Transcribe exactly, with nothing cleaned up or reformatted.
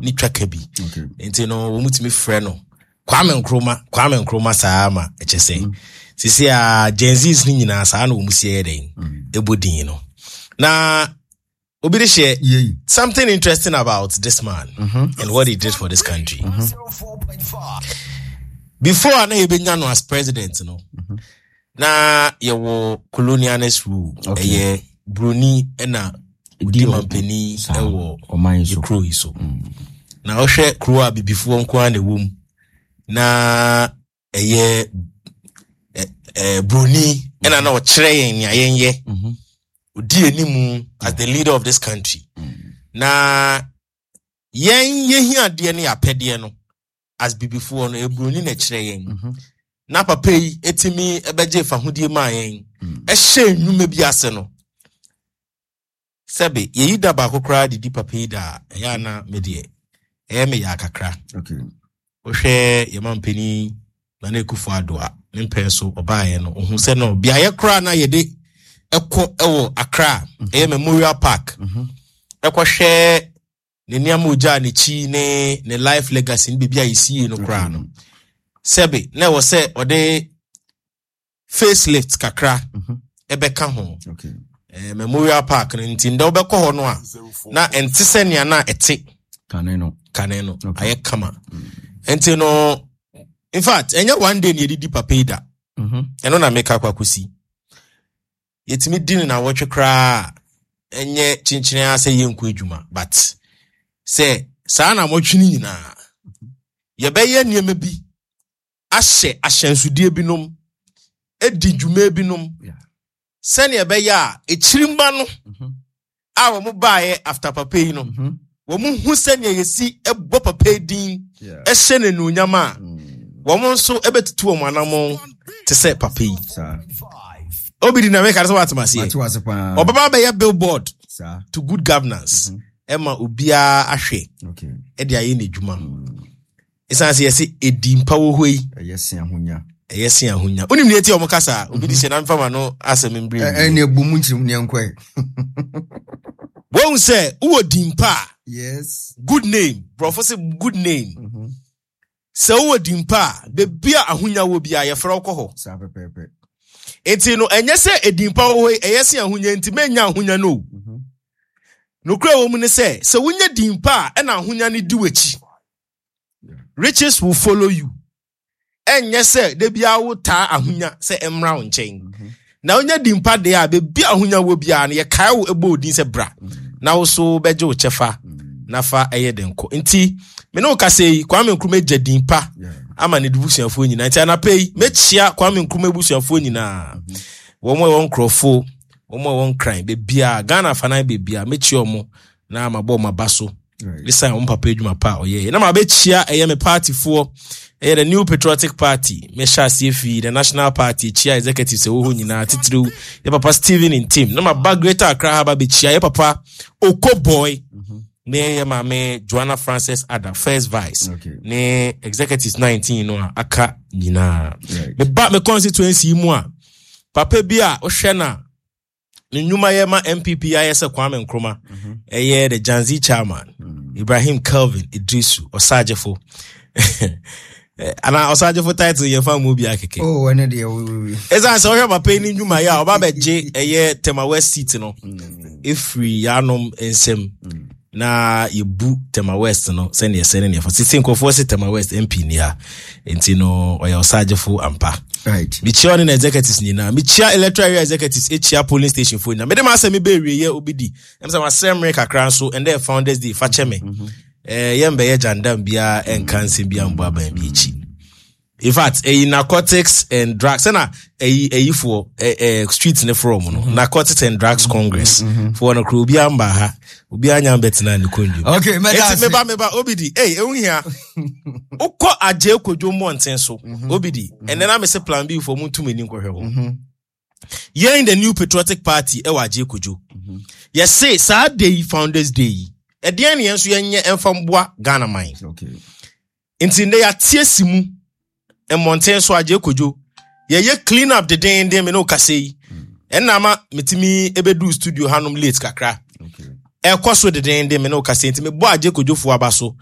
Ne twaka bi nti no, wɔn tumi frɛ no Kwame Nkrumah, Kwame Nkrumah saa ma ɛkyɛ sɛ sisi a Gen Zs no nyinaa saa na wɔn si yɛ dɛn ɛbɔ din no. Na obi de hyɛ Yei. something interesting about this man and what he did for this country. Before a na yɛbɛnya no as president no, na yɛwɔ colonialist rule. Okay. Ɛyɛ broni ɛna odi Di mampanin saa, ɛwɔ ɔman yi so. Kuro yi so. Na wohwɛ kuro a bibifoɔ nko ara na ɛwɔ mu na ɛyɛ ɛ- ɛ, broni ɛna na ɔkyerɛ yɛn nea yɛnyɛ, Mhm. odi animu as the leader of this country, na yɛn yɛhia adeɛ ne yɛapɛdeɛ no as bibifoɔ no, eburoni na ɛkyerɛ yɛn. Mhm. Na papa yi etimi ɛbɛgye fahodie maa yɛn, ɛhyɛ nnwuma bi ase no, sɛbe yɛyi da baako koraa de di papa yi da a, ɛyɛ ana me deɛ ɛyɛ me yɛ akakra. Okay. Wohwɛ yɛma mpanin Nana Akufo Addo a ne mpɛn so ɔbaeɛ no, ohun sɛ no beaeɛ koraa na yɛde ɛkɔ ɛwɔ Accra, ɛyɛ Memorial Park, Mhm. ɛkɔhwɛ ne nneɛma ogyaa n'akyi ne ne life legacy ne baabi a yɛsie no koraa no, sɛbe na ɛwɔ sɛ ɔde facelift kakra Mhm. ɛbɛka ho. Okay. eh, memorial Park no nti ndɛ wobɛkɔ hɔ no a, na ɛnte sɛ nea na ɛte Kane no. kane no. Okay. Ayɛ kama. Nti no, in fact, ɛnyɛ one day ne yɛdedi papa yi da. Mhm. Ɛno na meka akɔ akɔsi yɛtumi di no nawɔtwe koraa a, ɛnyɛ kyenkyene a sɛ yɛnkɔ adwuma, but sɛ saa nawɔtwe no nyinaa yɛbɛyɛ nneɛma bi ahyɛ ahyɛnsodeɛ binom, adi dwuma binom Yeah. sɛnea ɛbɛyɛ a ekyirimba no Mhm. a wɔn baeɛ after papa yi no, Mhm. wɔn hu sɛnea yɛsi bɔ papa yi din, Yeah. ɛhyɛ n'anuonyam a, Mm. wɔn nso bɛtutu wɔn anammɔn te sɛ papa yi. Saa. Obi di na meka sɛ woatem aseɛ. Mate wase paa. Ɔbɛba bɛyɛ billboard Saa. to good governance ɛma obiara ahwɛ Okay. ɛde ayɛ n'adwuma, ɛsiane sɛ yɛsɛ ɛdi mpa wɔ hɔ yi. Ɛyɛ se ahonya. Ɛyɛ se ahonya. Wonim deɛ ɛti a ɔmo kasa a obi de hyɛ na mfa ma no asɛm mbrɛ. Ɛne ɛbu mu nkyerɛmu ne ɛnkɔɛ. Wɔhu sɛ wowɔ din pa a, Yes. good name, borɔfo sɛ good name. Mhm. Sɛ wowɔ din pa a, beebi a ahonya wɔ bi a, yɛfrɛ wo kɔ hɔ. Saa pɛpɛɛpɛ. Nti no, ɛnyɛ sɛ edin pa wɔ hɔ yi ɛyɛ se ahonya nti mɛnya ahonya no o. Mhm. Nokura wɔ mu ne sɛ, sɛ wonya din pa a, ɛna ahonya no di w'akyi. Riches will follow you. Ɛnyɛ sɛ da biara wotaa ahonya sɛ ɛmmra wo nkyɛn. Na wonya din pa deɛ a, beebi a ahonya wɔ biara no, yɛkae wo, ɛbɔ wo din sɛ bra na wo so bɛgye wo kyɛfa na fa ɛyɛ den kɔ. Nti me ne wo kasa yi, Kwame Nkrumah gya din pa Yeah. ama ne busuafoɔ nyinaa. Nti anapa yi mɛkyia Kwame Nkrumah abusuafoɔ nyinaa, wɔn a ɛwɔ nkurɔfoɔ, wɔn a ɛwɔ Nkran, beebiaa Ghana afanan beebiaa, mɛkyia wɔn na mabɔ wɔn aba so Right. esan wɔn papa adwuma pa a ɔyɛɛ. Na mabɛkyia ɛyɛ me partyfoɔ, ɛyɛ the New Patriotic Party. Mɛhyɛ aseɛ fii the national party, kyia executives ɛwɔ hɔ nyinaa, titiriw yɛ papa Stephen Ntim, na maba Greater Accra ha ba bɛkyia yɛ papa Oko Boy ne yɛ maame Joanna Francis Ada, first vice, Okay. ne executives nineteen no a aka nyinaa. Right. Meba me constituency yi mu a, papa bi a wohwɛ no a ne nnwuma yɛ ma N P P ayɛ sɛ Kwame Nkrumah, ɛyɛ the Janzi chairman, Ibrahim Kelvin Idrisu Ɔsagyefo. Ana Ɔsagyefo title yɛmfa mu bi akeke. Oh, ɛne deɛ wo- wo- wo. Ɛsiane sɛ wohwɛ papa yi ne nnwuma yɛ a ɔba bɛgye ɛyɛ Tema West seat no ɛfiri yɛanom nsɛm na yɛbu Tema West no sɛneɛ ɛsɛ ne neɛfa sisi nkurɔfoɔ sɛ Tema West M P ni ha. Nti no, ɔyɛ Ɔsagyefo ampa. Right. Mekyia ɔne na executives nyinaa, mekyia electoral area executives, ɛkyia polling station foɔ nyinaa. Mede ma asɛm mebɛ obi di ɛm sɛ masrɛ mmerɛ kakra nso. Ɛndɛ yɛ Founders Day, fa kyɛ me. Eh, yɛmbɛyɛ gyandam biara, ɛnka nsɛm biara mbɔ aban bi akyi. In fact, ɛyi Narcotics and Drugs sɛna ɛyi ɛyifoɔ ɛ ɛ street ne frɔ mu no, Narcotics and Drugs Congress foɔ no kuro, obiara mba ha, obiara nya mbɛtena ne kɔndwam. Okay, mɛda Eti ase. meba meba obi di ei, ehu hia wokɔ Agye Kodwo mmɔnten so. Obi di ɛnɛ na mese Plan B foɔ mu ntum ani nkɔhwɛ hɔ. Yɛn the New Patriotic Party ɛwɔ Agye Kodwo, yɛse saa day yi, Founders Day yi, ɛdeɛn ne yɛn nso yɛnyɛ ɛmfa mboa Ghana man? Okay. Nti ndɛ yɛate asi mu mmɔnten so Agye Kodwo, yɛyɛ clean up dedenden. Me ne wo kasa yi, ɛnna ama metumi ɛbɛduu studio hanom late kakra. Okay. Ɛkɔ so dedenden, me ne wo kasa yi. Nti mebɔ Agye Kodwofoɔ aba so.